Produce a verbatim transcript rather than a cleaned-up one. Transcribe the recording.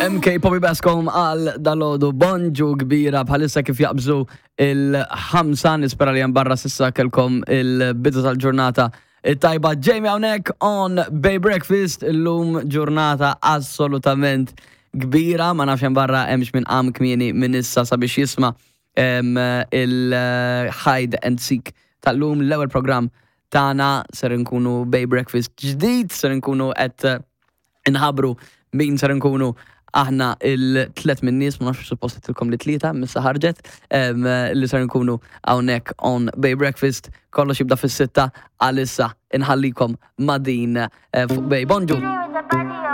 M K Poppy Bascom għal dalgħodu. Bonġu kbira. Bħalissa kif jaqbżu il-ħamsa, nispera li barra s'issa kellkom il-bidu tal-ġurnata it-tajba. Jamie hawnhekk on Bay Breakfast. Illum ġurnata assolutament kbira, ma nafx hemm barra hemmx minn qam kmieni minn issa sabiex jisma' em, il-Hide and Seek tal-lum, l-ewwel program tagħna. Ser nkunu Bay Breakfast ġdid, ser nkunu qed inħabru min ser nkunu aħna il-tlet minn nies, ma nafx suppost tilkom li tlieta, missa ħarġet, em, li ser nkunu hawnhekk on Bay Breakfast. Kollox jibda fis-sitta, għalissa inħallikom ma' din eh, fuq Bay. Bonġu!